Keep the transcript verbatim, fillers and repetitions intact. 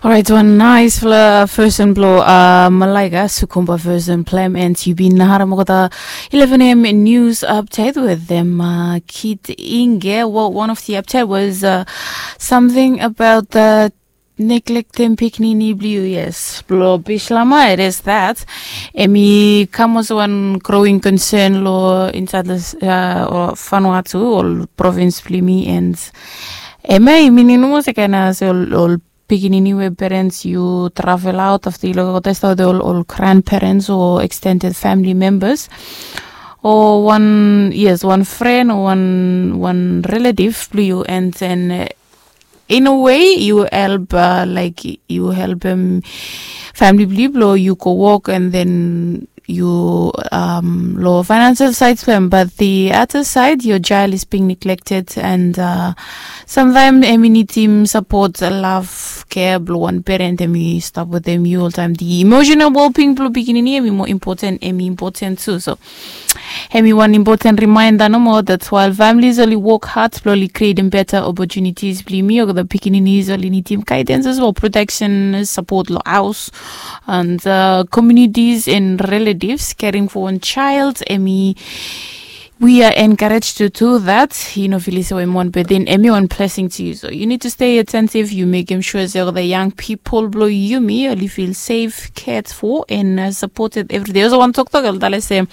Orait, wan naisfala version blo uh, Malaika Sukumba version plem, and you bin harem olgeta eleven a.m. news update with them uh, Kid Inge. Well, one of the update was uh, something about the neglecting pikinini blue. Yes, blo Bislama, it is that. Emi kamos one growing concern lo inside the uh, Vanuatu, all province blimi, and emi meaning no more kind as all, all pikinini we parents you travel out of the local test of the all, all grandparents or extended family members or one, yes, one friend or one one relative blue you, and then uh, in a way you help uh, like you help him family blue blow you go walk, and then you um, lo financial side blem, but the other side your child is being neglected, and uh, sometimes emi need him support, love, care blo one parent emi stop with them you all time. The emotional well-being blo pikinini emi more important, emi important too. So emi one important reminder no more that while families only work hard blo only creating better opportunities bli mi or the pikinini is only need him guidance as well, protection, support lo house and uh, communities and relatives caring for one child. Emi we are encouraged to do that. You know, Felisa Wemon, but then emi one blessing to you. So you need to stay attentive. You make him sure that the young people blow you me only feel safe, cared for, and uh, supported every day. Also, one talk talk, I'll say